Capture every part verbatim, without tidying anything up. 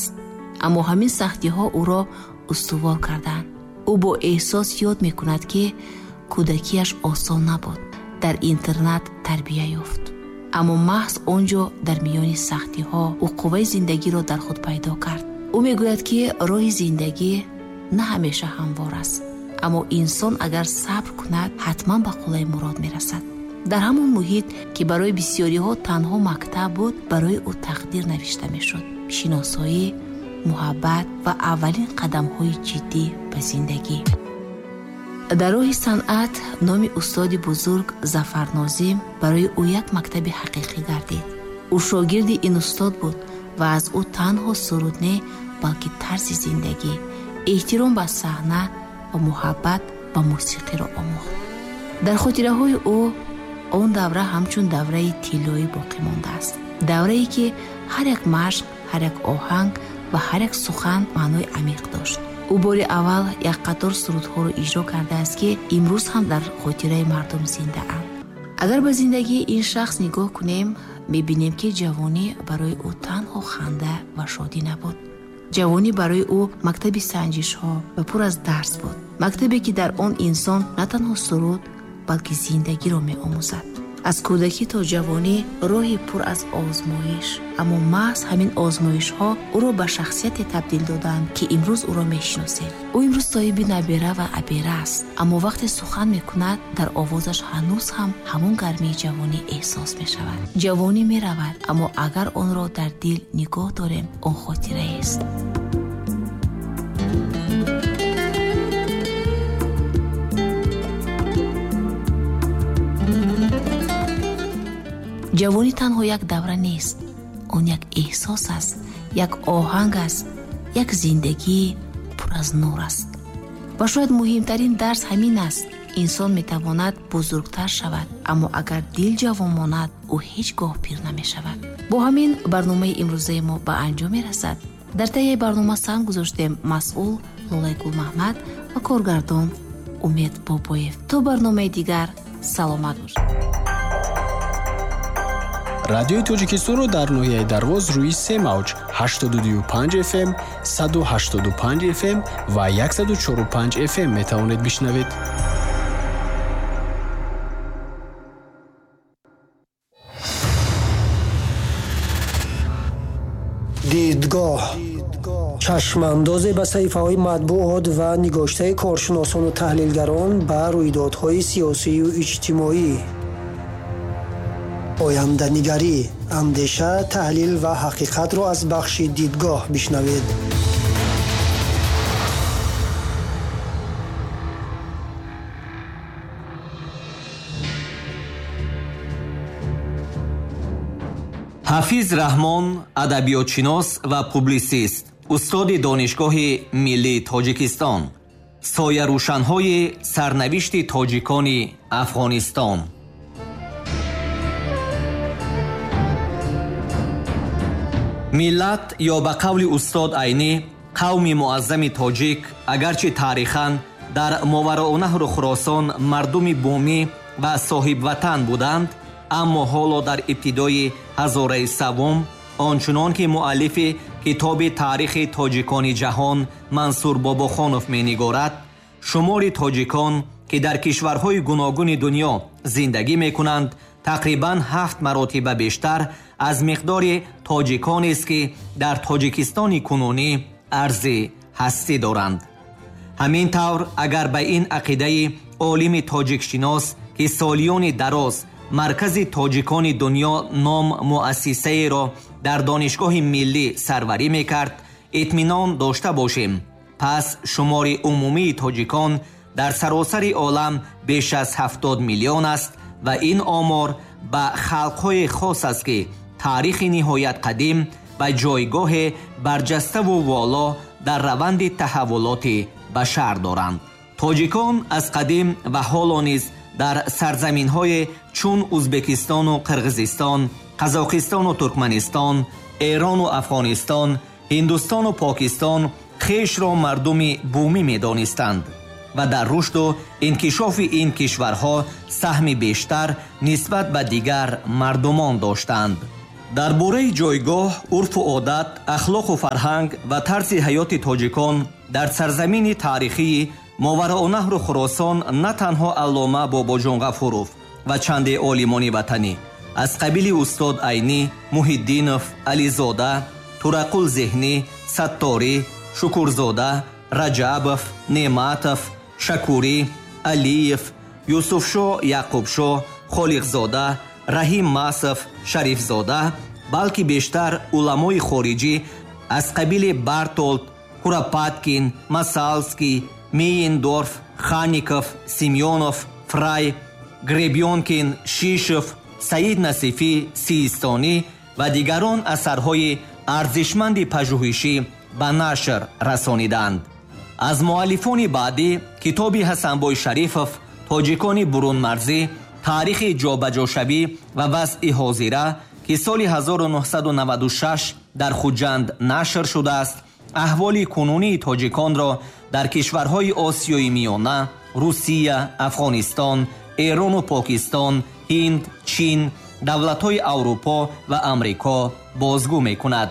аст. Аммо ҳамин сахтиҳо ӯро устувор карданд. Ӯ бо эҳсос ёд мекунад, ки кӯдакиаш осон набуд. Дар интернат тарбия ёфт. Аммо маҳз он ҷо дар миёни сахтиҳо ӯ қувваи зиндагиро дар худ пайдо кард. Ӯ мегӯяд, ки роҳи зиндагӣ на ҳамеша ҳамвор аст, аммо инсон агар сабр кунад, ҳатман ба қуллаи мурод мерасад. Дар ҳамон муҳит, ки барои бисёриҳо танҳо мактаб буд, барои ӯ тақдир навишта мешуд. Шиносоӣ, муҳаббат ва аввалин қадамҳои ҷиддӣ ба зиндагӣ. Дар роҳи санъат номи устоди бузург Зафар Нозим барои ӯ як мактаби ҳақиқӣ гардид. Ӯ шогирди ин устод буд ва аз ӯ танҳо суруд не, балки тарзи зиндагӣ, эҳтиром ба саҳна ва муҳаббат ба мусиқиро омӯхт. Дар хотираҳои ӯ он давра ҳамчун давраи тиллоӣ боқӣ мондааст. Даврае, ки ҳар як машқ, ҳар як оҳанг ва ҳар як сухан маънои амиқ дошт. Ӯ бори аввал як қатор сурудҳоро иҷро кардааст, ки имрӯз ҳам дар хотираи мардум зиндаанд. Агар ба зиндагии ин шахс нигоҳ кунем, мебинем, ки ҷавонӣ барои ӯ танҳо ханда ва шодӣ набуд. Ҷавонӣ барои ӯ мактаби санҷишҳо ва пур аз дарс буд. Мактабе, ки дар он инсон на танҳо суруд, балки зиндагиро меомӯзад. Аз кӯдакӣ то ҷавонӣ роҳи пур аз озмоиш, аммо маҳз ҳамин озмоишҳо ӯро ба шахсияте табдил доданд, ки имрӯз ӯро мешиносем. Ӯ имрӯз соҳиби набера ва абера аст, аммо вақте сухан мекунад, дар овозаш ҳанӯз ҳам ҳамон гармии ҷавонӣ эҳсос мешавад. Ҷавонӣ меравад, аммо агар онро дар дил нигоҳ дорем, он хотираест. Ҷавонӣ танҳо як давра нест, он як эҳсос аст, як оҳанг аст, як зиндагии пур аз нур аст. Ва шояд муҳимтарин дарс ҳамин аст: инсон метавонад бузургтар шавад, аммо агар дил ҷавон монад, ӯ ҳеҷ гоҳ пир намешавад. Бо ҳамин барномаи имрӯзаи мо ба анҷом мерасад. Дар таи барнома санг гузоштем масъул Лолаи Гулмаҳмад ва коргардон Умед Бобоев. То барномаи дигар саломат бошед. Радиои Тоҷикистонро дар ноҳияи Дарвоз рӯи се мавҷ ҳаштоду ду панҷ эф эм, саду ҳаштоду панҷ эф эм ва яксаду чору панҷ эф эм метавонед бишнавед. Дидгоҳ чашмандозе ба саҳифаҳои матбуот ва нигоштаи коршиносону таҳлилгарон ба рӯйдодҳои сиёсию иҷтимоӣ. Оянданигарӣ, андеша, таҳлил ва ҳақиқатро аз бахши дидгоҳ бишнавед. Ҳафиз Раҳмон адабиётшинос ва публисист, устоди Донишгоҳи миллии Тоҷикистон, соярӯшанҳои сарнавишти тоҷикони Афғонистон. Миллат ё ба қавли устод Айнӣ қавми муаззами тоҷик, агарчи таърихан дар Мовароуннаҳру Хуросон мардуми бумӣ ва соҳибватан буданд, аммо ҳоло дар ибтидои ҳазораи севум, ончунон ки муаллифи китоби таърихи тоҷикони ҷаҳон Мансур Бобохонов менигорад, шумори тоҷикон, ки дар кишварҳои гуногуни дунё зиндагӣ мекунанд, тақрибан ҳафт маротиба бештар аз миқдори тоҷиконест, ки дар Тоҷикистони кунунӣ арзи ҳастӣ доранд. Ҳамин тавр, агар ба ин ақидаи олими тоҷикшинос, ки солиёни дароз маркази тоҷикони дунё ном муассисаеро дар Донишгоҳи миллӣ сарварӣ мекард, итминон дошта бошем, пас шумори умумии тоҷикон дар саросари олам беш аз ҳафтод миллион аст ва ин омор ба халқҳои хос аст, ки таърихи ниҳоят қадим ва ҷойгоҳи барҷаставу воло дар раванди таҳаввулоти башар доранд. Тоҷикон аз қадим ва ҳоло низ дар сарзаминҳои чун Узбекистону Қирғизистон, Қазоқистону Туркманистон, Эрону Афғонистон, Ҳиндустону Покистон хешро мардуми бумӣ медонистанд ва дар рушду инкишофи ин кишварҳо саҳми бештар нисбат ба дигар мардумон доштанд. Дар бораи ҷойгоҳ, урфу одат, ахлоқу фарҳанг ва тарзи ҳаёти тоҷикон дар сарзамини таърихии Мовароуннаҳру Хуросон на танҳо аллома Бобоҷон Ғафуров ва чанде олимони ватанӣ аз қабили устод Айнӣ, Муҳиддинов, Ализода, Турақул Зеҳнӣ, Сатторӣ, Шукурзода, Раҷабов, Неъматов, Шакурӣ, Алиев, Юсуфшо Яъқубшо, Холиқзода, Раҳим Масов, Шарифзода, балки бештар уламои хориҷӣ аз қабили Бартолд, Куропаткин, Масалский, Мейендорф, Хаников, Семёнов, Фрай, Гребёнкин, Шишев, Саид Насифӣ, Систонӣ ва дигарон асарҳои арзишманди пажӯҳишӣ ба нашр расониданд. Аз муаллифони баъдӣ китоби Ҳасанбой Шарифов «Тоҷикони бурунмарзӣ, таърихи ҷобаҷошавӣ ва вазъи ҳозира», ки соли ҳазору нуҳсаду наваду шаш дар Хуҷанд нашр шудааст, аҳволи кунунии тоҷиконро дар кишварҳои Осиёи Миёна, Русия, Афғонистон, Эрону Покистон, Ҳинд, Чин, давлатҳои Аврупо ва Амрико бозгӯ мекунад.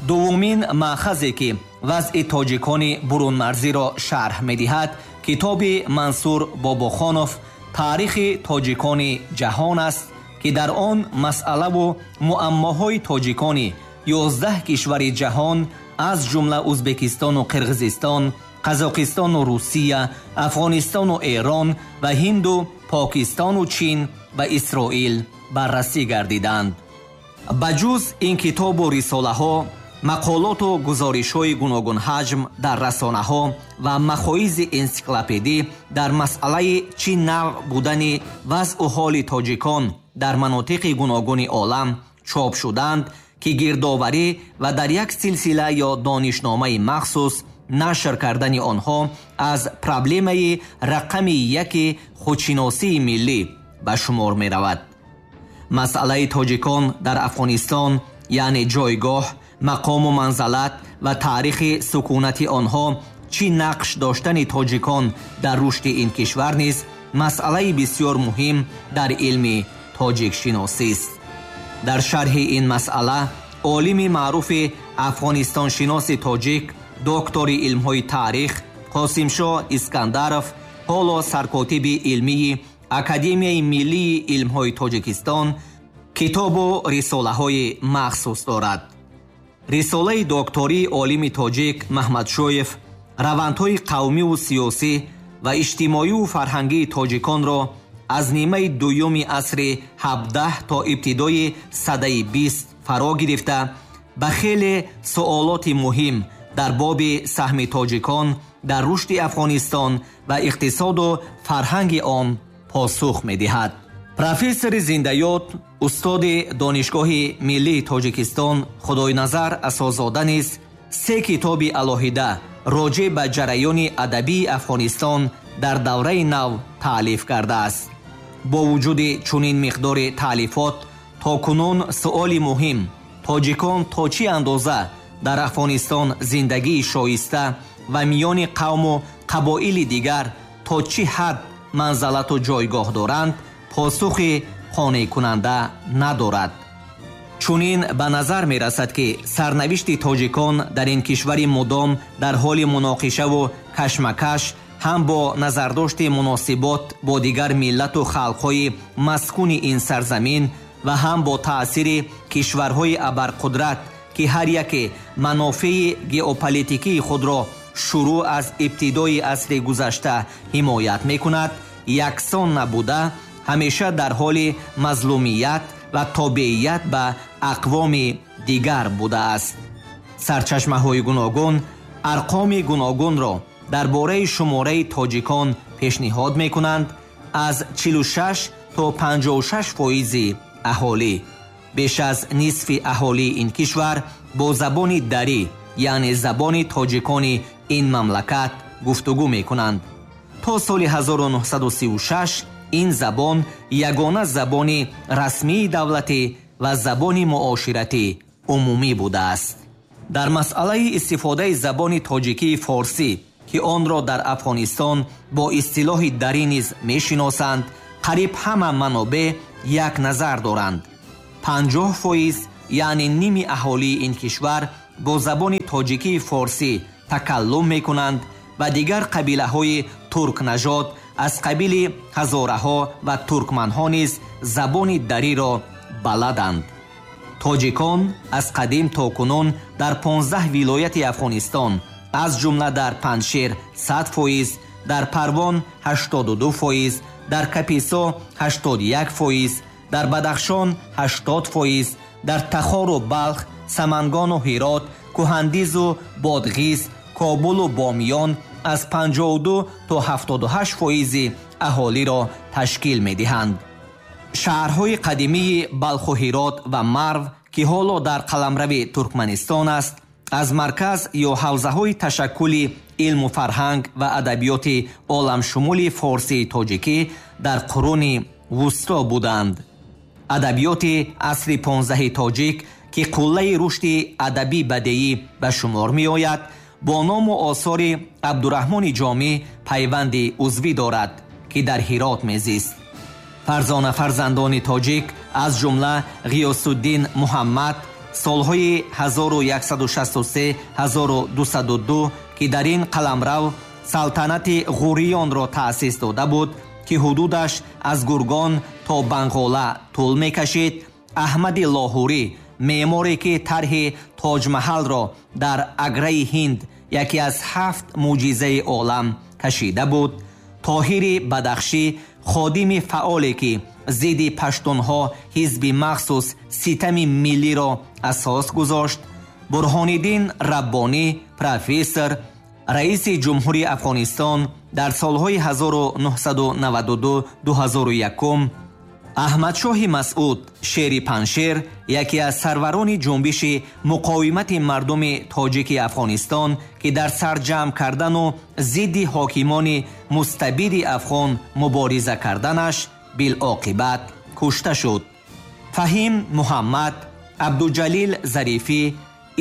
Дуввумин маъхазе ки вазъи тоҷикони бурунмарзиро шарҳ медиҳад, китоби Мансур Бобохонов «Таърихи тоҷикони ҷаҳон» аст, ки дар он масъалаву муаммоҳои тоҷикони ёздаҳ кишвари ҷаҳон аз ҷумла Узбекистону Қирғизистон, Қазоқистону Русия, Афғонистону Эрон ва Ҳинду Покистону Чин ва Исроил баррасӣ гардиданд. Ба ҷуз ин китобу рисолаҳо, мақолоту гузоришҳои гуногунҳаҷм дар расонаҳо ва махоизи энсиклопедӣ дар масъалаи чӣ навъ будани вазъу ҳоли тоҷикон дар манотиқи гуногуни олам чоп шуданд, ки гирдоварӣ ва дар як силсила ё донишномаи махсус нашр кардани онҳо аз проблемаи рақами яки худшиносии миллӣ ба шумор меравад. Масъалаи тоҷикон дар Афғонистон, яъне ҷойгоҳ, мақому манзалат ва таърихи сукунати онҳо, чӣ нақш доштани тоҷикон дар рушди ин кишвар низ масъалаи бисёр муҳим дар илми тоҷикшиносист. Дар шарҳи ин масъала олими маъруфи афғонистоншиноси тоҷик, доктори илмҳои таърих Қосимшо Искандаров, ҳоло саркотиби илмии Академияи миллии илмҳои Тоҷикистон, китобу рисолаҳои махсус дорад. Рисолаи доктории олими тоҷик Маҳмадшоев равандҳои қавмиву сиёсӣ ва иҷтимоиву фарҳангии тоҷиконро аз нимаи дуюми асри ҳабдаҳ то ибтидои садаи бист фаро гирифта, ба хеле суолоти муҳим дар боби саҳми тоҷикон дар рушди Афғонистон ва иқтисоду фарҳанги он посух медиҳад. Профессори зиндаёд, устоди Донишгоҳи миллии Тоҷикистон Худойназар Асозода низ се китоби алоҳида роҷеъ ба ҷараёни адабии Афғонистон дар давраи нав таълиф кардааст. Бо вуҷуди чунин миқдори таълифот, то кунун суоли муҳим тоҷикон то чӣ андоза дар Афғонистон зиндагии шоиста ва миёни қавму қабоили дигар то чӣ ҳад манзалату ҷойгоҳ доранд, посухи қонеъкунанда надорад. Чунин ба назар мерасад, ки сарнавишти тоҷикон дар ин кишвари мудом дар ҳоли муноқишаву кашмакаш ҳам бо назардошти муносибот бо дигар миллату халқҳои маскуни ин сарзамин ва ҳам бо таъсири кишварҳои абарқудрат, ки ҳар яке манофеи геополитикии худро шурӯъ аз ибтидои асри гузашта ҳимоят мекунад, яксон набуда, ҳамеша дар ҳоли мазлумият ва тобеият ба ақвоми дигар будааст. Сарчашмаҳои гуногун арқоми гуногунро дар бораи шумораи тоҷикон пешниҳод мекунанд, аз чилу шаш то панҷоҳу шаш фоизи аҳолӣ. Беш аз нисфи аҳолии ин кишвар бо забони дарӣ, яъне забони тоҷикони ин мамлакат гуфтугӯ мекунанд. То соли ҳазору нуҳсаду сию шаш ин забон ягона забони расмии давлатӣ ва забони муоширатӣ умумӣ будааст. Дар масъалаи истифодаи забони тоҷикии форсӣ, ки онро дар Афғонистон бо истилоҳи дарӣ низ мешиносанд, қариб ҳама манобеъ як назар доранд. Панҷоҳ фоиз, яъне ними аҳолии ин кишвар бо забони тоҷикии форсӣ такаллум мекунанд ва дигар қабилаҳои туркнажод аз қабили ҳазораҳо ва туркманҳо низ забони дариро баладанд. Тоҷикон аз қадим то кунун дар понздаҳ вилояти Афғонистон, аз ҷумла дар Панҷшер сад фоиз, дар Парвон ҳаштоду ду фоиз, дар Каписо ҳаштоду як фоиз, дар Бадахшон ҳаштод фоиз, дар Тахору Балх, Самангану Ҳирот, Кӯҳандизу Бодғиз, Кобулу Бомиён аз панҷоҳу ду то ҳафтоду ҳашт фоизи аҳолиро ташкил медиҳанд. Шаҳрҳои қадимии Балху Ҳирот ва Марв, ки ҳоло дар қаламрави Туркманистон аст, аз марказ ё ҳавзаҳои ташаккули илму фарҳанг ва адабиёти оламшумули форсии тоҷикӣ дар қуруни вусто буданд. Адабиёти асри понздаҳи тоҷик, ки қуллаи рушди адабӣ бадеӣ ба шумор меояд, бо ному осори Абдураҳмони Ҷомӣ пайванди узвӣ дорад, ки дар Ҳирот мезист. Фарзона фарзандони тоҷик, аз ҷумла Ғиёсуддин Муҳаммад солҳои ҳазору яксаду шасту се ҳазору дусаду ду, ки дар ин қаламрав салтанати Ғуриёнро таъсис дода буд, ки ҳудудаш аз Гургон то Банғола тӯл мекашид, Аҳмади Лоҳурӣ, меъморе ки тарҳи Тоҷмаҳалро дар Аграи Ҳинд яке аз ҳафт мӯъҷизаи олам кашида буд, Тоҳири Бадахшӣ, ходими фаъоле ки зидди паштунҳо ҳизби махсус ситами миллиро асос гузошт, Бурҳониддин Раббонӣ, профессор, раиси ҷумҳури Афғонистон дар солҳои ҳазору нуҳсаду наваду ду ду ҳазору якум, Аҳмадшоҳи Масъуд, шери Панҷшер, яке аз сарварони ҷунбиши муқовимати мардуми тоҷики Афғонистон, ки дар сарҷамъ кардану зидди ҳокимони мустабиди афғон мубориза карданаш билоқибат кушта шуд. Фаҳим Муҳаммад, Абдуҷалил Зарифӣ,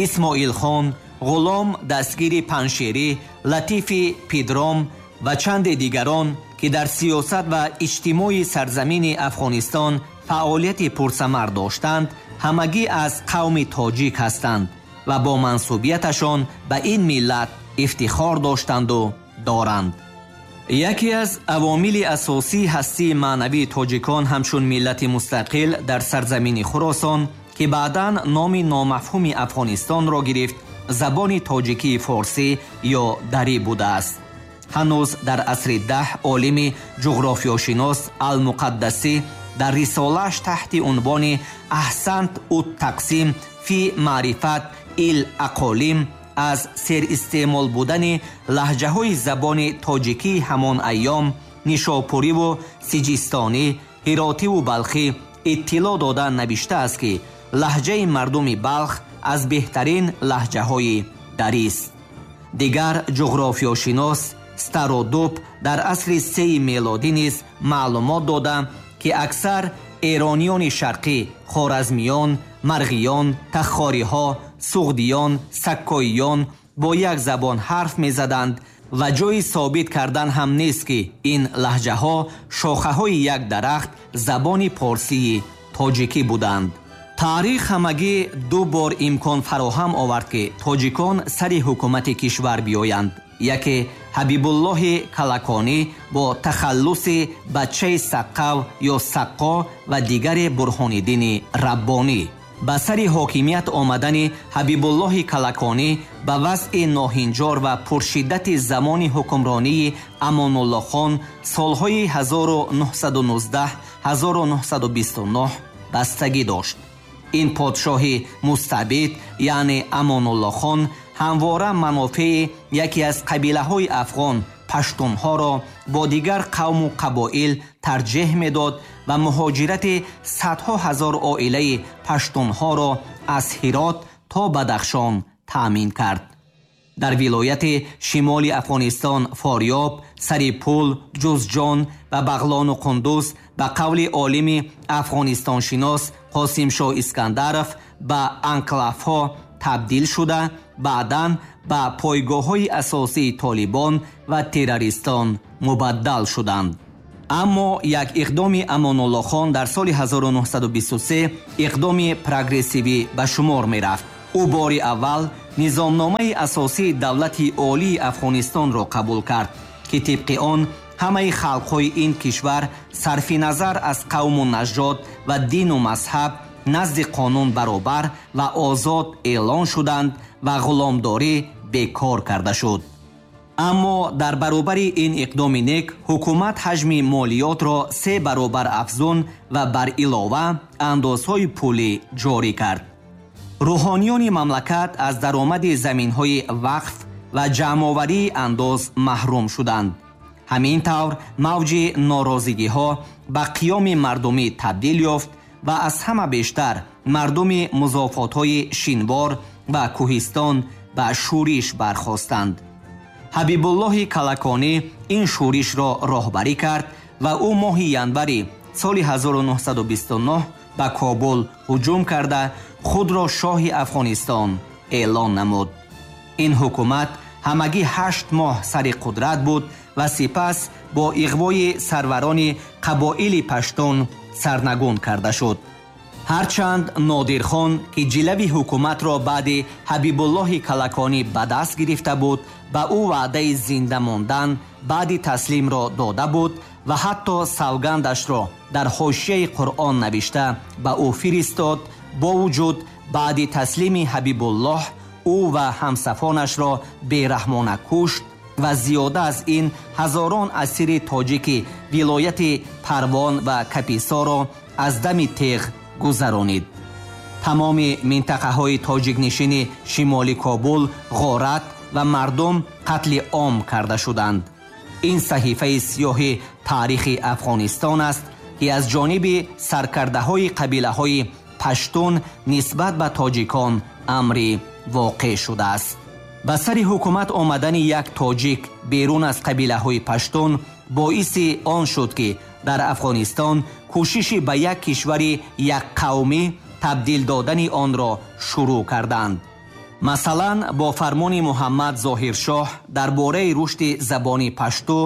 Исмоилхон, Ғулом дастгири Панҷшерӣ, Латифи Пидром ва чанде дигарон, ки дар сиёсат ва иҷтимои сарзамини Афғонистон фаъолияти пурсамар доштанд, ҳамагӣ аз қавми тоҷик ҳастанд ва бо мансубияташон ба ин миллат ифтихор доштанду доранд. Яке аз авомили асосии ҳастии маънавии тоҷикон ҳамчун миллати мустақил дар сарзамини Хуросон, ки баъдан номи номафҳуми Афғонистонро гирифт, забони тоҷикии форсӣ ё дарӣ будааст. Ҳанӯз дар асри даҳ олими ҷуғрофиёшинос Алмуқаддасӣ дар рисолааш таҳти унвони Аҳсант ут-тақсим фи маърифат ил ақолим аз серистеъмол будани лаҳҷаҳои забони тоҷикии ҳамон айём, нишопуриву сиҷистонӣ, ҳиротиву балхӣ иттилоъ дода навиштааст, ки лаҳҷаи мардуми Балх аз беҳтарин лаҳҷаҳои дарист. Дигар ҷуғрофиёшинос Стародуб дар асри сеи мелодӣ низ маълумот дода, ки аксар эрониёни шарқӣ, хоразмиён, марғиён, тахориҳо, суғдиён, саккоиён бо як забон ҳарф мезаданд ва ҷои собит кардан ҳам нест, ки ин лаҳҷаҳо шохаҳои як дарахт забони порсии тоҷикӣ буданд. Таърих ҳамагӣ ду бор имкон фароҳам овард, ки тоҷикон сари ҳукумати кишвар биёянд. Яке Ҳабибуллоҳи Калаконӣ бо тахаллуси бачаи Саққав ё Саққо ва дигаре Бурҳониддини Раббонӣ. Ба сари ҳокимият омадани Ҳабибуллоҳи Калаконӣ ба вазъи ноҳинҷор ва пуршиддати замони ҳукмронии Амонуллоҳхон солҳои ҳазору нуҳсаду нуздаҳ ҳазору нуҳсаду бисту нуҳ бастагӣ дошт. Ин подшоҳи мустабид, яъне Амонуллоҳхон, ҳамвора манофеи яке аз қабилаҳои афғон паштунҳоро бо дигар қавму қабоил тарҷеҳ медод ва муҳоҷирати садҳо ҳазор оилаи паштунҳоро аз Ҳирот то Бадахшон таъмин кард. Дар вилояти шимоли Афғонистон Форёб, Сарипул, Ҷузҷон ва Бағлону Қундуз ба қавли олими афғонистоншинос Қосимшоҳ Искандаров ба анклавҳо табдил шуда, баъдан ба пойгоҳҳои асосии толибон ва террористон мубаддал шуданд. Аммо як иқдоми Амонуллохон дар соли ҳазору нуҳсаду бисту се иқдоми прогрессивӣ ба шумор мерафт. Ӯ бори аввал низомномаи асосии давлати олии Афғонистонро қабул кард, ки тибқи он ҳамаи халқҳои ин кишвар сарфи назар аз қавму нажод ва дину мазҳаб назди қонун баробар ва озод эълон шуданд ва ғуломдорӣ бекор карда шуд. Аммо дар баробари ин иқдоми нек ҳукумат ҳаҷми молиётро се баробар афзун ва бар илова андозҳои пулӣ ҷорӣ кард. Рӯҳониёни мамлакат аз даромади заминҳои вақф ва ҷамъоварии андоз маҳрум шуданд. Ҳамин тавр мавҷи норозигиҳо ба қиёми мардумӣ табдил ёфт ва аз ҳама бештар мардуми музофотҳои Шинвор ва Кӯҳистон ба шӯриш бархостанд. Ҳабибуллоҳи Калаконӣ ин шӯришро роҳбарӣ кард ва ӯ моҳи январи соли ҳазору нуҳсаду бисту нӯҳ ба Кобул ҳуҷум карда худро шоҳи Афғонистон эълон намуд. Ин ҳукумат ҳамагӣ ҳашт моҳ сари қудрат буд ва сипас бо иғвои сарварони қабоили паштун сарнагун карда шуд. Ҳарчанд Нодирхон, ки ҷилави ҳукуматро баъди Ҳабибуллоҳи Калаконӣ ба даст гирифта буд, ба ӯ ваъдаи зинда мондан баъди таслимро дода буд ва ҳатто савгандашро дар ҳошияи Қуръон навишта ба ӯ фиристод, бо вуҷуд баъди таслими Ҳабибуллоҳ ӯ ва ҳамсафонашро бераҳмона кушт ва зиёда аз ин ҳазорон асири тоҷики вилояти Парвон ва Каписоро аз дами теғ гузаронид. Тамоми минтақаҳои тоҷикнишини шимоли Кобул ғорат ва мардум қатли ом карда шуданд. Ин саҳифаи сиёҳи таърихи Афғонистон аст, ки аз ҷониби саркардаҳои қабилаҳои паштун нисбат ба тоҷикон амри воқеъ шудааст. Ба сари ҳукумат омадани як тоҷик берун аз қабилаҳои паштун боиси он шуд, ки дар Афғонистон кӯшиши ба як кишвари якқавмӣ табдил додани онро шурӯъ карданд. Масалан, бо фармони Муҳаммад Зоҳиршоҳ дар бораи рушди забони пашту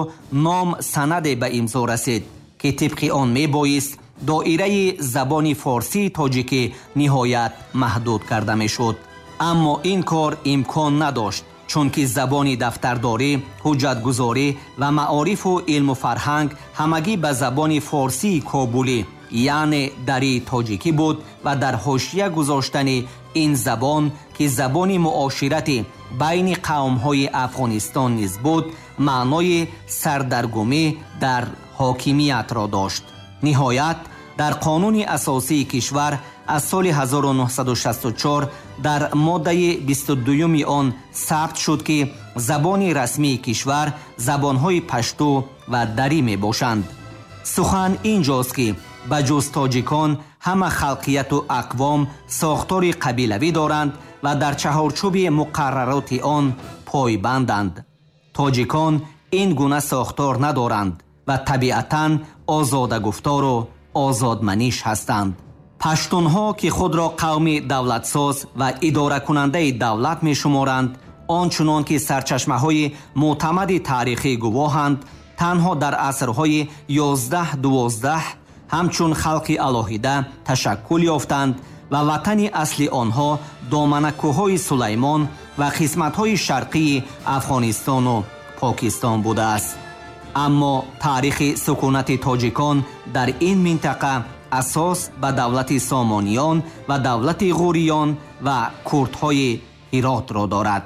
ном санаде ба имзо расид, ки тибқи он мебоист доираи забони форсии тоҷикӣ ниҳоят маҳдуд карда мешуд. Аммо ин кор имкон надошт, чунки забони дафтардорӣ, ҳуҷҷатгузорӣ ва маорифу илму фарҳанг ҳамагӣ ба забони форсии кобулӣ, яъне дарии тоҷикӣ буд ва дар ҳошия гузоштани ин забон, ки забони муоширати байни қавмҳои Афғонистон низ буд, маънои сардаргумӣ дар ҳокимиятро дошт. Ниҳоят, дар қонуни асосии кишвар аз соли ҳазору нуҳсаду шасту чор дар моддаи бисту дуюми он сабт шуд, ки забони расмии кишвар забонҳои пашту ва дарӣ мебошанд. Сухан инҷост, ки ба ҷуз тоҷикон ҳама халқияту ақвом сохтори қабилавӣ доранд ва дар чаҳорчӯби муқаррароти он пойбанданд. Тоҷикон ин гуна сохтор надоранд ва табиатан озодагуфтору озодманиш ҳастанд. Паштунҳо, ки худро қавми давлатсоз ва идоракунандаи давлат мешуморанд, он чунон ки сарчашмаҳои мӯътамади таърихӣ гувоҳанд, танҳо дар асрҳои ёздаҳ дувоздаҳ ҳамчун халқи алоҳида ташаккул ёфтанд ва ватани асли онҳо доманакӯҳҳои Сулаймон ва қисматҳои шарқии Афғонистону Покистон будааст. Аммо таърихи сукунати тоҷикон дар ин минтақа асос ба давлати Сомониён ва давлати Ғуриён ва курдҳои Ҳиротро дорад.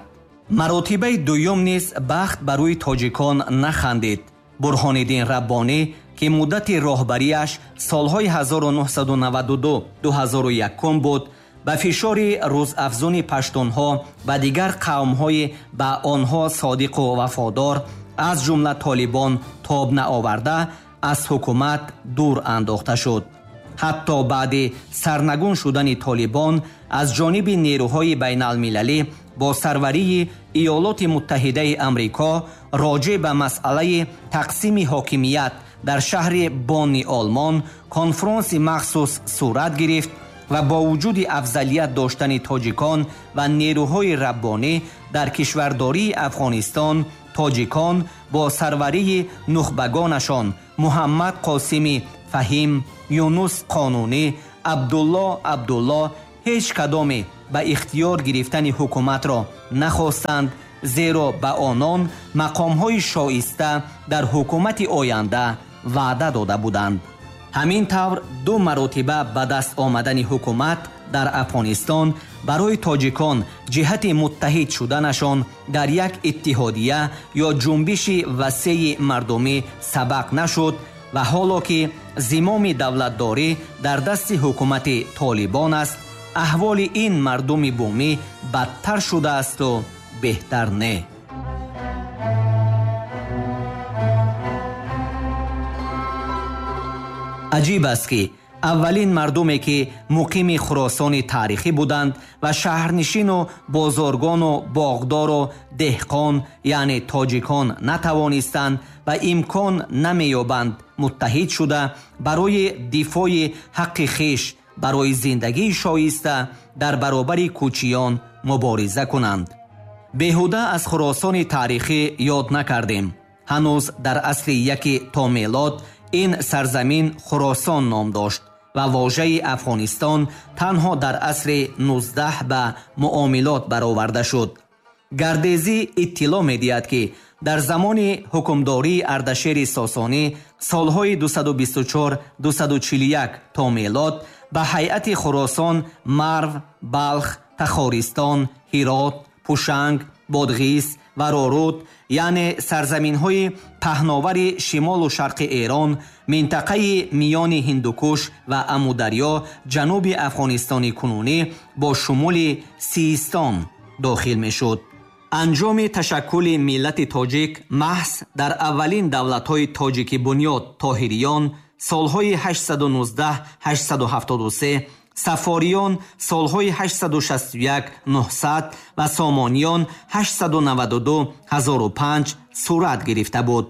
Маротибаи дуюм низ бахт ба рӯи тоҷикон нахандид. Бурҳониддин Раббонӣ, ки муддати роҳбарияш солҳои ҳазору нуҳсаду наваду ду ду ҳазору якум буд, ба фишори рӯзафзуни паштунҳо ва дигар қавмҳои ба онҳо содиқу вафодор, аз ҷумла толибон, тоб наоварда, аз ҳукумат дур андохта шуд. Ҳатто баъди сарнагун шудани толибон аз ҷониби нерӯҳои байналмилалӣ бо сарварии Иёлоти Муттаҳидаи Амрико роҷеъ ба масъалаи тақсими ҳокимият дар шаҳри Бонни Олмон конфронси махсус сурат гирифт ва бо вуҷуди афзалият доштани тоҷикон ва нерӯҳои раббонӣ дар кишвардории Афғонистон, Тоҷикон бо сарварии нухбагонашон Муҳаммад Қосими Фаҳим, Юнус Қонунӣ, Абдулло Абдулло ҳеҷ кадоме ба ихтиёр гирифтани ҳукуматро нахостанд, зеро ба онон мақомҳои шоиста дар ҳукумати оянда ваъда дода буданд. Ҳамин тавр ду маротиба ба даст омадани ҳукумат дар Афғонистон барои тоҷикон ҷиҳати муттаҳид шуданашон дар як иттиҳодия ё ҷунбиши васеи мардумӣ сабақ нашуд ва ҳоло ки зимоми давлатдорӣ дар дасти ҳукумати Толибон аст, аҳволи ин мардуми бумӣ бадтар шудаасту беҳтар не. Аҷиб аст ки аввалин мардуме ки муқими Хуросони таърихӣ буданд ва шаҳрнишину бозоргону боғдору деҳқон, яъне тоҷикон, натавонистанд ва имкон намеёбанд муттаҳид шуда барои дифои ҳаққи хеш, барои зиндагии шоиста дар баробари кӯчиён мубориза кунанд. Беҳуда аз Хуросони таърихӣ ёд накардем. Ҳанӯз дар асри яки то мелод ин сарзамин Хуросон ном дошт ва вожаи Афғонистон танҳо дар асри нуздаҳ ба муомилот бароварда шуд. Гардезӣ иттилоъ медиҳад, ки дар замони ҳукмдории Ардашери Сосонӣ солҳои дусаду бисту чор дусаду чилу як то мелод ба ҳайати Хуросон Марв, Балх, Тахористон, Ҳирот, Пушанг, Бодғис ва Роруд, яъне сарзаминҳои паҳновари шимолу шарқи Эрон, минтақаи миёни Ҳиндукуш ва Амударё, ҷануби Афғонистони кунунӣ бо шумули Систон дохил мешуд. Анҷоми ташаккули миллати тоҷик маҳз дар аввалин давлатҳои тоҷикӣ бунёд Тоҳириён солҳои ҳаштсаду нуздаҳ ҳаштсаду ҳафтоду се, Сафориён солҳои ҳаштсаду шасту як нуҳсад ва Сомониён ҳаштсаду наваду ду ҳазору панҷ сурат гирифта буд.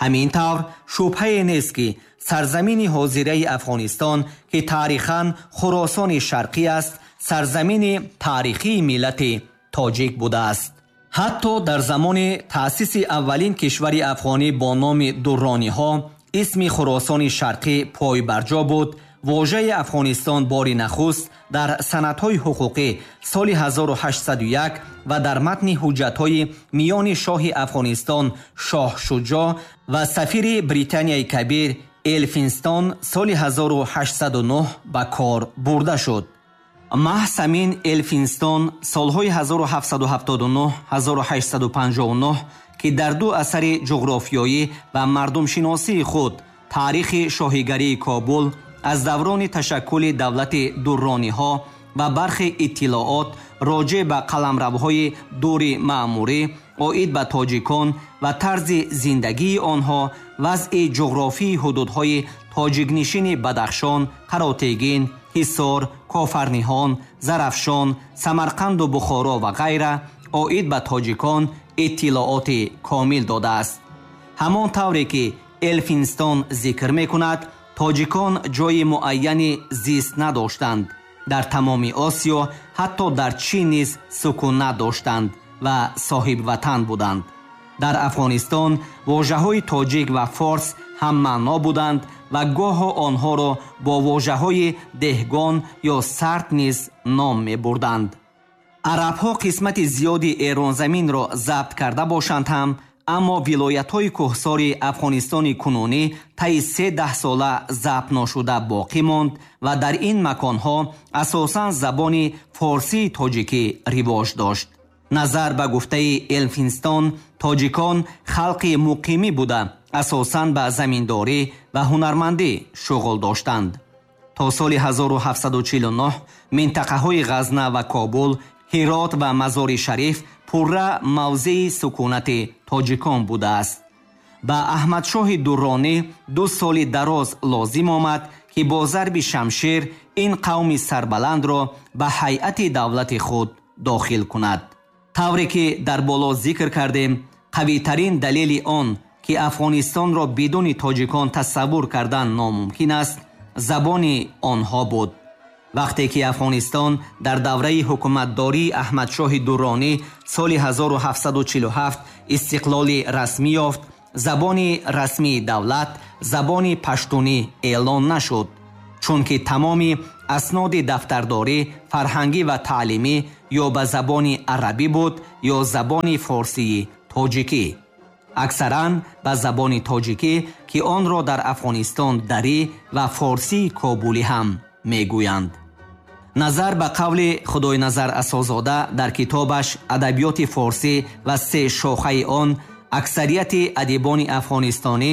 Ҳамин тавр шубҳае нест, ки сарзамини ҳозираи Афғонистон, ки таърихан Хуросони Шарқӣ аст, сарзамини таърихии миллати тоҷик будааст. Ҳатто дар замони таъсиси аввалин кишвари афғонӣ бо номи Дуррониҳо исми Хуросони Шарқӣ пойбарҷо буд. Вожаи Афғонистон бори нахуст дар санадҳои ҳуқуқӣ соли ҳазору ҳаштсаду як ва дар матни ҳуҷҷатҳои миёни шоҳи Афғонистон Шоҳ Шуҷоъ ва сафири Британияи Кабир Элфинстон соли ҳазору ҳаштсаду нӯҳ ба кор бурда шуд. Маҳз ҳамин Элфинстон солҳои ҳазору ҳафтсаду ҳафтоду нӯҳ ҳазору ҳаштсаду панҷоҳу нӯҳ, ки дар ду асари ҷуғрофиёӣ ва мардумшиносии худ таърихи шоҳигарии Кобул аз даврони ташаккули давлати Дуррониҳо ва бархе иттилоот роҷеъ ба қаламравҳои дури маъмурӣ оид ба тоҷикон ва тарзи зиндагии онҳо, вазъи ҷуғрофии ҳудудҳои тоҷикнишини Бадахшон, Қаротегин, Ҳисор, Кофарниҳон, Зарафшон, Самарқанду Бухоро ва ғайра оид ба тоҷикон иттилооти комил додааст. Ҳамон тавре ки Элфинстон зикр мекунад, тоҷикон ҷои муайяни зист надоштанд. Дар тамоми Осиё, ҳатто дар Чин низ сукунат доштанд ва соҳибватан буданд. Дар Афғонистон вожаҳои тоҷик ва форс ҳаммаъно буданд ва гоҳо онҳоро бо вожаҳои деҳгон ё сард низ ном мебурданд. Арабҳо қисмати зиёди Эронзаминро забт карда бошанд ҳам, аммо вилоятҳои кӯҳсори Афғонистони кунунӣ таи се даҳсола забт ношуда боқӣ монд ва дар ин маконҳо асосан забони форсии тоҷикӣ ривоҷ дошт. Назар ба гуфтаи Элфинстон, тоҷикон халқи муқимӣ буда, асосан ба заминдорӣ ва ҳунармандӣ шуғл доштанд. То соли ҳазору ҳафтсаду чилу нӯҳ минтақаҳои Ғазна ва Кобул, Ҳирот ва Мазори Шариф пурра мавзеи сукунати тоҷикон будааст. Ба Аҳмадшоҳи Дурронӣ ду соли дароз лозим омад, ки бо зарби шамшер ин қавми сарбаландро ба ҳайати давлати худ дохил кунад. Тавре ки дар боло зикр кардем, қавитарин далели он, ки Афғонистонро бидуни тоҷикон тасаввур кардан номумкин аст, забони онҳо буд. Вақте ки Афғонистон дар давраи ҳукуматдории Аҳмадшоҳи Дурронӣ соли ҳазору ҳафтсаду чилу ҳафт истиқлоли расмӣ ёфт, забони расмии давлат забони паштунӣ эълон нашуд, чунки тамоми асноди дафтардорӣ, фарҳангӣ ва таълимӣ ё ба забони арабӣ буд ё забони форсии тоҷикӣ. Аксаран ба забони тоҷикӣ, ки онро дар Афғонистон дарӣ ва форсии кобулӣ ҳам мегӯянд. Назар ба қавли Худойназар Асозода дар китобаш «Адабиёти форсӣ ва се шохаи он», аксарияти адибони афғонистонӣ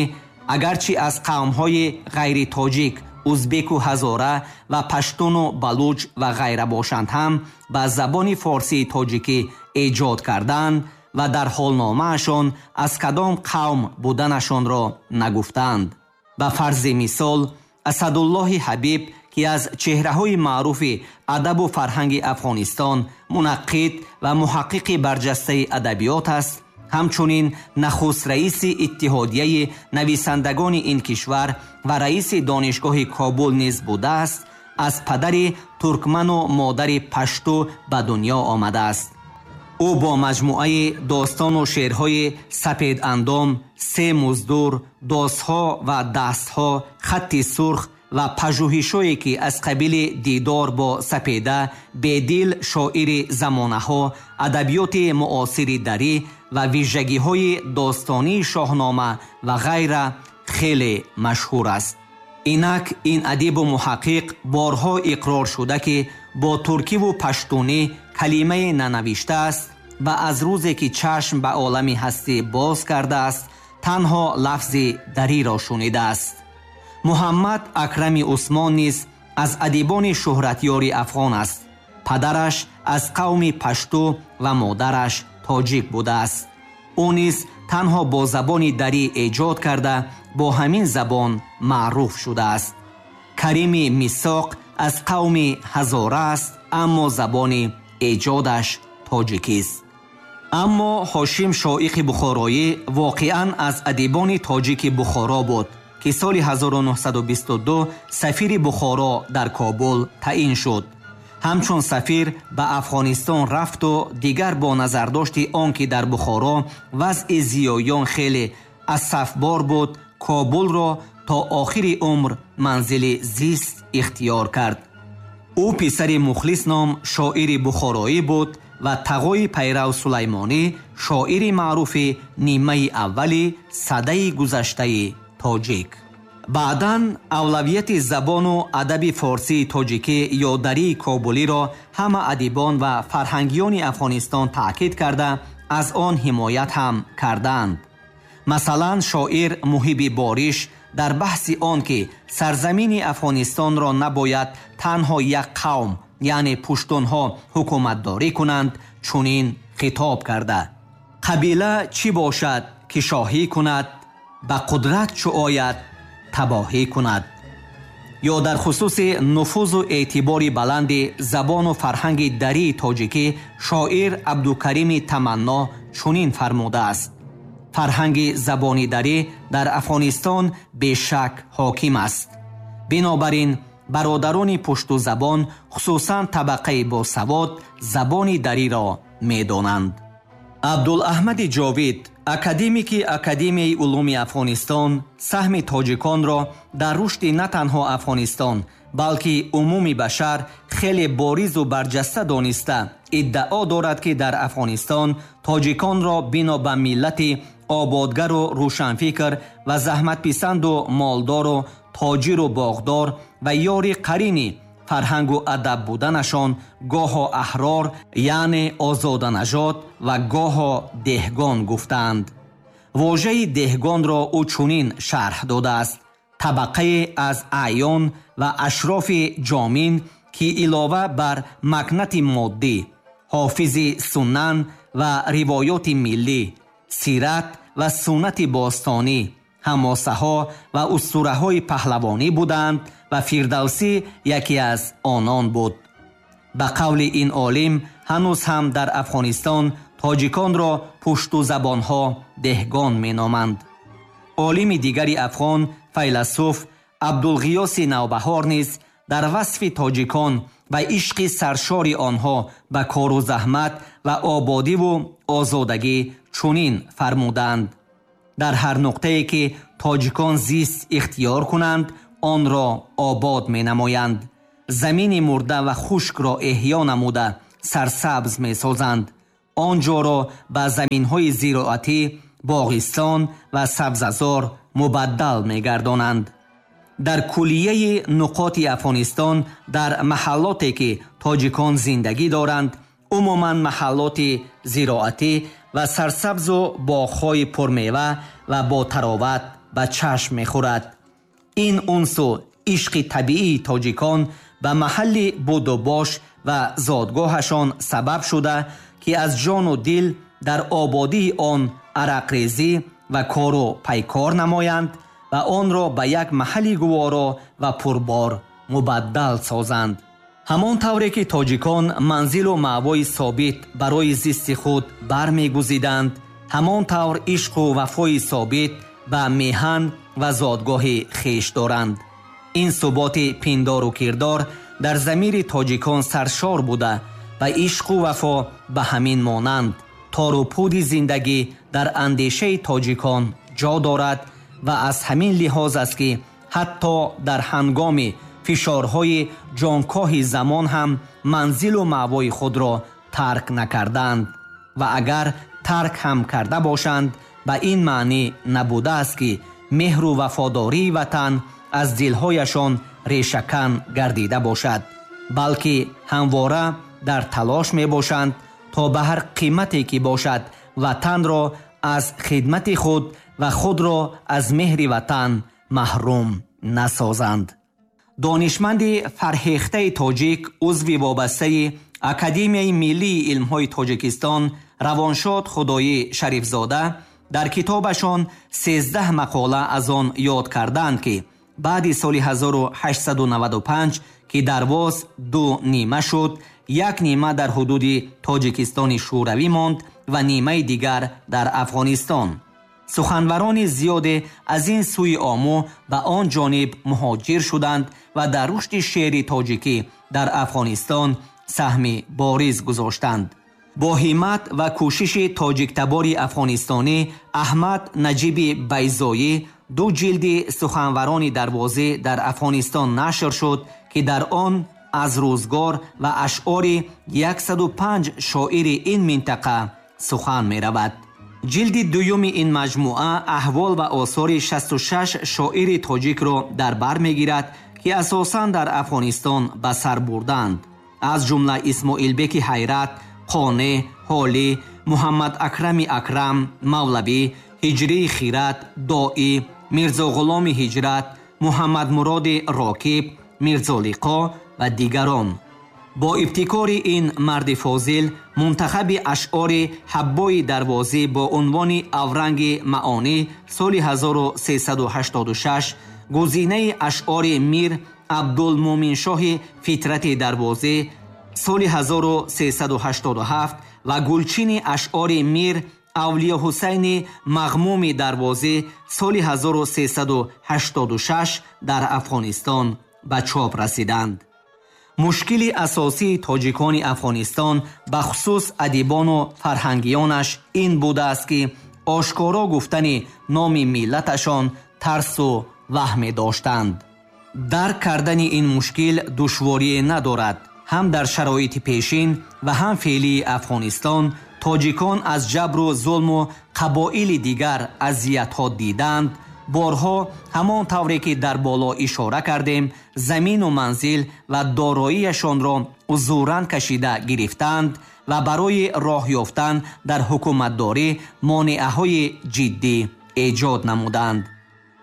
агарчи аз қавмҳои ғайритоҷик, узбеку ҳазора ва паштуну балуҷ ва ғайра бошанд ҳам, ба забони форсии тоҷикӣ эҷод карданд ва дар ҳолномаашон аз кадом қавм буданашонро нагуфтанд. Ба фарзи мисол, Асадуллоҳи Ҳабиб, ки аз чеҳраҳои маъруфи адабу фарҳанги Афғонистон, мунаққид ва муҳаққиқи барҷастаи адабиёт аст, ҳамчунин нахуст раиси иттиҳодияи нависандагони ин кишвар ва раиси донишгоҳи Кобул низ будааст, аз падари туркману модари пашту ба дунё омадааст. Ӯ бо маҷмӯаи достону шеърҳои сапедандом, се муздур, досҳо ва дастҳо, хатти сурх ва пажӯҳишҳое, ки аз қабили дидор бо сапеда, бедил шоири замонаҳо, адабиёти муосири дарӣ ва вижагиҳои достонии шоҳнома ва ғайра хеле машҳур аст. Инак ин адибу муҳаққиқ борҳо иқрор шуда, ки бо туркиву паштунӣ калимае нанавиштааст ва аз рӯзе ки чашм ба олами ҳастӣ боз кардааст, танҳо лафзи дариро шунидааст. Муҳаммад Акрами Усмон низ аз адибони шӯҳратёри афғон аст. Падараш аз қавми пашту ва модараш тоҷик будааст. Ӯ низ танҳо бо забони дарӣ эҷод карда, бо ҳамин забон маъруф шудааст. Карими Мисоқ аз қавми ҳазора аст, аммо забони эҷодаш тоҷикист. Аммо Ҳошим Шоиқи Бухороӣ воқеан аз адибони тоҷики Бухоро буд, ки соли ҳазору нуҳсаду бисту ду сафири Бухоро дар Кобул таъин шуд. Ҳамчун сафир ба Афғонистон рафту дигар бо назардошти он ки дар Бухоро вазъи зиёён хеле асафбор буд, Кобулро то охири умр манзили зист ихтиёр кард. Ӯ писари Мухлис ном шоири бухороӣ буд ва тағои пайрав Сулаймонӣ, шоири маъруфи нимаи аввали садаи гузаштаи тоҷик. Баъдан авлавияти забону адаби форсии тоҷикӣ ё дарии кобулиро ҳама адибон ва фарҳангиёни Афғонистон таъкид карда, аз он ҳимоят ҳам карданд. Масалан, шоир Муҳиби Бориш дар баҳси он ки сарзамини Афғонистонро набояд танҳо як қавм, яъне пуштунҳо, ҳукуматдорӣ кунанд, чунин хитоб карда: қабила чӣ бошад ки шоҳӣ кунад, ба қудрат чӯ ояд табоҳӣ кунад. Ё дар хусуси нуфузу эътибори баланди забону фарҳанги дарии тоҷикӣ шоир Абдукарими Таманно чунин фармудааст: фарҳанги забони дарӣ дар Афғонистон бешак ҳоким аст. Бинобар ин бародарони пуштузабон, хусусан табақаи босавод, забони дариро медонанд. Абдулаҳмади Ҷовид, академики Академияи улуми Афғонистон, саҳми тоҷиконро дар рушди на танҳо Афғонистон, балки умуми башар хеле боризу барҷаста дониста, иддао дорад, ки дар Афғонистон тоҷиконро бино ба миллати ободгару рӯшанфикр ва заҳматписанду молдору тоҷиру боғдор ва ёри қарини фарҳангу адаб буданашон гоҳо аҳрор, яъне озоданажод, ва гоҳо деҳгон гуфтаанд. Вожаи деҳгонро ӯ чунин шарҳ додааст: табақае аз аъён ва ашрофи ҷомин, ки илова бар макнати моддӣ, ҳофизи суннан ва ривоёти миллӣ, сират ва суннати бостонӣ, ҳамосаҳо ва устураҳои паҳлавонӣ буданд ва Фирдавсӣ яке аз онон буд. Ба қавли ин олим, ҳанӯз ҳам дар Афғонистон тоҷиконро пуштузабонҳо деҳгон меноманд. Олими дигари афғон, файласуф Абдулғиёси Навбаҳор низ Дар васфи тоҷикон ва ишқи саршори онҳо ба кору заҳмат ва ободиву озодагӣ чунин фармуданд: дар ҳар нуқтае ки тоҷикон зист ихтиёр кунанд, онро обод менамоянд, замини мурда ва хушкро эҳё намуда сарсабз месозанд, он ҷоро ба заминҳои зироатӣ, боғистон ва сабзазор мубаддал мегардонанд. Дар куллияи нуқоти Афғонистон, дар маҳаллоте ки тоҷикон зиндагӣ доранд, умуман маҳаллоти зироатӣ ва сарсабзу боғҳои пурмева ва ботароват ба чашм мехӯрад. Ин унсу ишқи табиии тоҷикон ба маҳалли будубош ва зодгоҳашон сабаб шуда, ки аз ҷону дил дар ободии он арақрезӣ ва кору пайкор намоянд ва онро ба як маҳалли гуворо ва пурбор мубаддал созанд. Ҳамон тавре ки тоҷикон манзилу маъвои собит барои зисти худ бармегузиданд, ҳамон тавр ишқу вафои собит ба меҳан ва зодгоҳи хеш доранд. Ин суботи пиндору кирдор дар замири тоҷикон саршор буда ва ишқу вафо ба ҳамин монанд тору пуди зиндагӣ дар андешаи тоҷикон ҷо дорад ва аз ҳамин лиҳоз аст, ки ҳатто дар ҳангоми фишорҳои ҷонкоҳи замон ҳам манзилу маъвои худро тарк накарданд ва агар тарк ҳам карда бошанд, ба ин маънӣ набудааст, ки меҳру вафодории ватан аз дилҳояшон решакан гардида бошад, балки ҳамвора дар талош мебошанд то ба ҳар қимате ки бошад ватанро аз хидмати худ ва худро аз меҳри ватан маҳрум насозанд. Донишманди фарҳехтаи тоҷик, узви вобастаи Академияи миллии илмҳои Тоҷикистон равоншод Худоӣ Шарифзода дар китобашон сездаҳ мақола аз он ёд карданд, ки баъди соли ҳазору ҳаштсаду наваду панҷ, ки Дарвоз ду нима шуд, як нима дар ҳудуди Тоҷикистони Шӯравӣ монд ва нимаи дигар дар Афғонистон. Суханварони зиёде аз ин сӯи Омӯ ба он ҷониб муҳоҷир шуданд ва дар рушди шеъри тоҷикӣ дар Афғонистон саҳми бориз гузоштанд. Бо ҳиммат ва кӯшиши тоҷиктабори афғонистонӣ Аҳмад Наҷиби Байзоӣ ду ҷилди суханварони дарвозӣ дар Афғонистон нашр шуд, ки дар он аз рӯзгор ва ашъори яксаду панҷ шоири ин минтақа сухан меравад. Ҷилди дуюми ин маҷмӯа аҳвол ва осори шасту шаш шоири тоҷикро дар бар мегирад, ки асосан дар Афғонистон ба сар бурданд. Аз ҷумла Исмоилбеки Ҳайрат, Қонеъ, Ҳолӣ, Муҳаммад Акрами Акрам, Мавлавӣ, Ҳиҷрии Хират, Доӣ, Мирзоғуломи Ҳиҷрат, Муҳаммадмуроди Рокиб, Мирзолиқо ва дигарон. Бо ибтикори ин марди фозил мунтахаби ашъори Ҳаббои Дарвозӣ бо унвони Авранги маонӣ соли ҳазору сесаду ҳаштоду шаш, гузинаи ашъори Мир Абдулмӯминшоҳи Фитрати Дарвозӣ соли ҳазору сесаду ҳаштоду ҳафт ва гулчини ашъори Мир Авлиёҳусайни Мағмуми Дарвозӣ соли ҳазору сесаду ҳаштоду шаш дар Афғонистон ба чоп расиданд. Мушкили асосии тоҷикони Афғонистон, бахусус адибону фарҳангиёнаш ин будааст, ки ошкоро гуфтани номи миллаташон тарсу ваҳме доштанд. Дарк кардани ин мушкил душворие надорад. Ҳам дар шароити пешин ва ҳам феълии Афғонистон тоҷикон аз ҷабру зулму қабоили дигар азиятҳо диданд. Борҳо ҳамон тавре ки дар боло ишора кардем, замину манзил ва дороияшонро узуран кашида гирифтанд ва барои роҳ ёфтан дар ҳукуматдорӣ монеаҳои ҷиддӣ эҷод намуданд.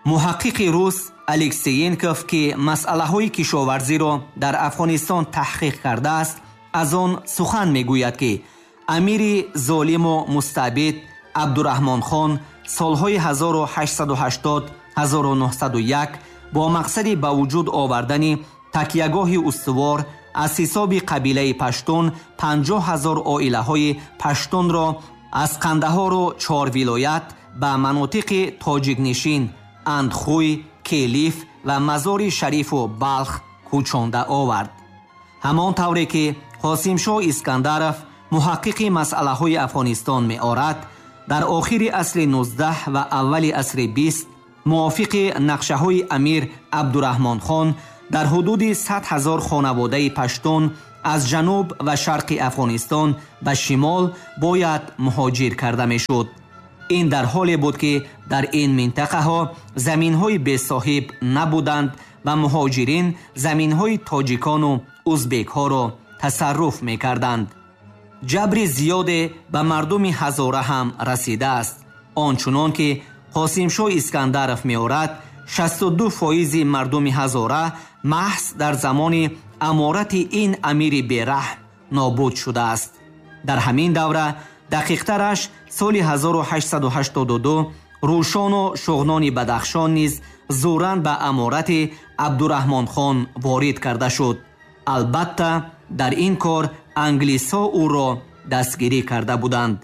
Муҳаққиқи рус Алексеенков, ки масъалаҳои кишоварзиро дар Афғонистон таҳқиқ кардааст, аз он сухан мегӯяд, ки амири золиму мустабид Абдураҳмонхон солҳои ҳазору ҳаштсаду ҳаштод ҳазору нуҳсаду як бо мақсади ба вуҷуд овардани такягоҳи устувор аз ҳисоби қабилаи паштун панҷоҳ ҳазор оилаҳои паштунро аз Қандаҳору чор вилоят ба манотиқи тоҷикнишин Андхуй, Келиф ва Мазори Шарифу Балх кӯчонда овард. Ҳамон тавре ки Қосимшоҳ Искандаров, муҳаққиқи масъалаҳои Афғонистон, меорад, дар охири асри нуздаҳ ва аввали асри бист мувофиқи нақшаҳои амир Абдураҳмонхон дар ҳудуди сад ҳазор хонаводаи паштун аз ҷануб ва шарқи Афғонистон ба шимол бояд муҳоҷир карда мешуд. Ин дар ҳоле буд, ки дар ин минтақаҳо заминҳои бесоҳиб набуданд ва муҳоҷирин заминҳои тоҷикону узбекҳоро тасарруф мекарданд. Ҷабри зиёде ба мардуми ҳазора ҳам расидааст. Он чунон ки Қосимшоҳ Искандаров меорад, шасту ду фоизи мардуми ҳазора маҳз дар замони аморати ин амири бераҳм нобуд шудааст. Дар ҳамин давра, дақиқтараш соли ҳазору ҳаштсаду ҳаштоду ду, Рӯшону Шуғнони Бадахшон низ зӯран ба аморати Абдураҳмонхон ворид карда шуд. Албатта, дар ин кор англисҳо ӯро дастгирӣ карда буданд.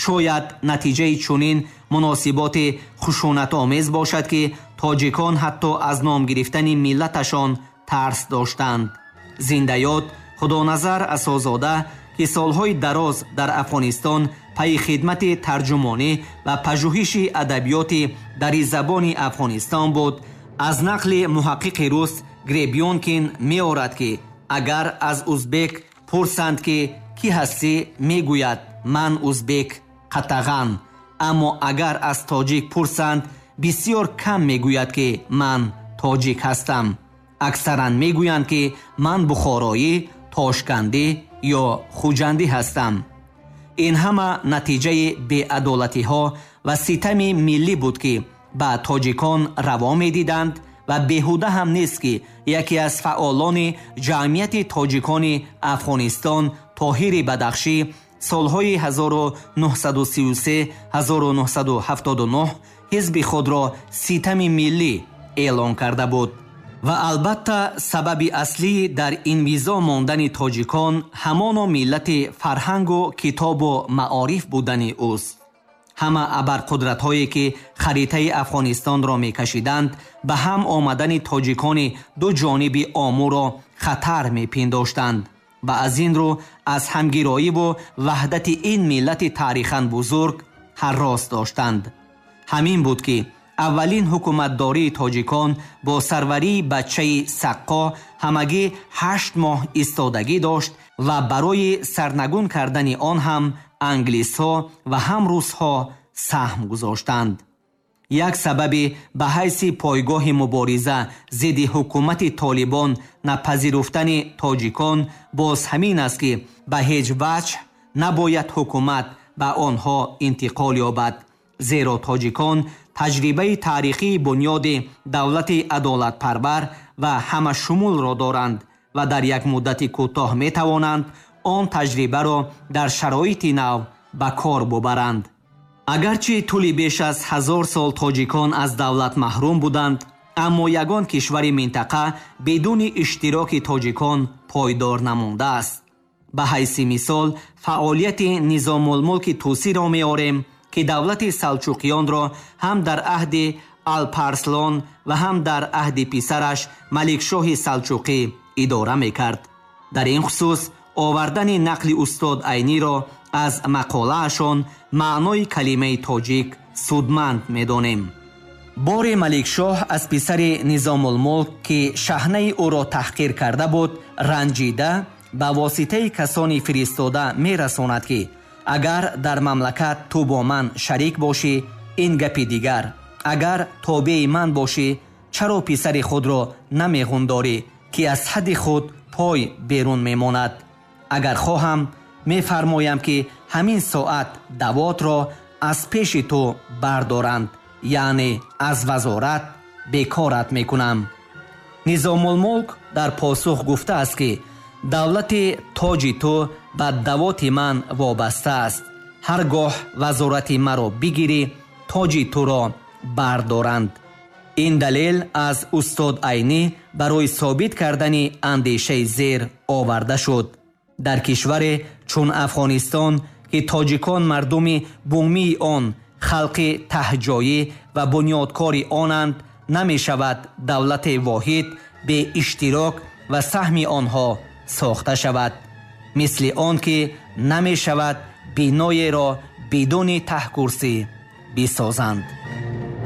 Шояд натиҷаи чунин муносиботи хушунатомез бошад, ки тоҷикон ҳатто аз ном гирифтани миллаташон тарс доштанд. Зиндаёд Худоназар Асозода, ки солҳои дароз дар Афғонистон пайи хидмати тарҷумонӣ ва пажӯҳиши адабиёти дари забони Афғонистон буд, аз нақли муҳаққиқи рус Гребёнкин меорад, ки агар аз узбек пурсанд, ки кӣ ҳастӣ, мегӯяд: «Ман узбек қатаған». Аммо агар аз тоҷик пурсанд, бисёр кам мегӯяд, ки ман тоҷик ҳастам. Аксаран мегӯянд, ки ман бухороӣ, тошкандӣ ё хуҷандӣ ҳастам. Ин ҳама натиҷаи беадолатиҳо ва ситами миллӣ буд, ки ба тоҷикон раво медиданд, ва беҳуда ҳам нест, ки яке аз фаъолони ҷамъияти тоҷикони Афғонистон, Тоҳири Бадахшӣ, солҳои ҳазору нӯҳсаду сию се ҳазору нӯҳсаду ҳафтоду нӯҳ ҳизби худро Ситами миллӣ эълон карда буд. Ва албатта, сабаби аслӣ дар инвизо мондани тоҷикон ҳамоно миллати фарҳангу китобу маориф будани ӯст. Ҳама абарқудратҳое, ки харитаи Афғонистонро мекашиданд, ба ҳам омадани тоҷикони ду ҷониби Омӯро хатар мепиндоштанд ва аз ин рӯ аз ҳамгироиву ваҳдати ин миллати таърихан бузург ҳаррос доштанд. Ҳамин буд, ки аввалин ҳукуматдории тоҷикон бо сарварии бачаи Саққо ҳамагӣ ҳашт моҳ истодагӣ дошт ва барои сарнагун кардани он ҳам англисҳо ва ҳам русҳо саҳм гузоштанд. Як сабаби ба ҳайси пойгоҳи мубориза зидди ҳукумати толибон напазируфтани тоҷикон боз ҳамин аст, ки ба ҳеҷ ваҷҳ набояд ҳукумат ба онҳо интиқол ёбад, зеро тоҷикон таҷрибаи таърихии бунёди давлати адолатпарвар ва ҳамашумулро доранд ва дар як муддати кӯтоҳ метавонанд он таҷрибаро дар шароити нав ба кор бубаранд. Агарчи тӯли беш аз ҳазор сол тоҷикон аз давлат маҳрум буданд, аммо ягон кишвари минтақа бидуни иштироки тоҷикон пойдор намондааст. Ба ҳайси мисол фаъолияти Низомулмулки Тӯсиро меорем, ки давлати салчуқиёнро ҳам дар аҳди Алпарслон ва ҳам дар аҳди писараш Маликшоҳи Салчуқӣ идора мекард. Дар ин хусус овардани нақли устод Айниро аз мақолаашон «Маънои калимаи тоҷик» судманд медонем. Боре Маликшоҳ аз писари Низомулмулк, ки шаҳнаи ӯро таҳқир карда буд, ранҷида, ба воситаи касони фиристода мерасонад, ки агар дар мамлакат ту бо ман шарик бошӣ, ин гапи дигар, агар тобеи ман бошӣ, чаро писари худро намеғундорӣ, ки аз ҳадди худ пой берун мемонад? Агар хоҳам, мефармоям, ки ҳамин соат давотро аз пеши ту бардоранд, яъне аз вазорат бекорат мекунам. Низомулмулк дар посух гуфтааст, ки давлати тоҷи ту ба давоти ман вобаста аст. Ҳар гоҳ вазорати маро бигирӣ, тоҷи туро бардоранд. Ин далел аз устод Айнӣ барои собит кардани андешаи зер оварда шуд. Дар кишваре чун Афғонистон, ки тоҷикон мардуми бумии он, халқи таҳҷоӣ ва бунёдкори онанд, намешавад давлати воҳид бе иштирок ва саҳми онҳо сохта шавад, мисли он ки намешавад биноеро бидуни таҳкурсӣ бисозанд.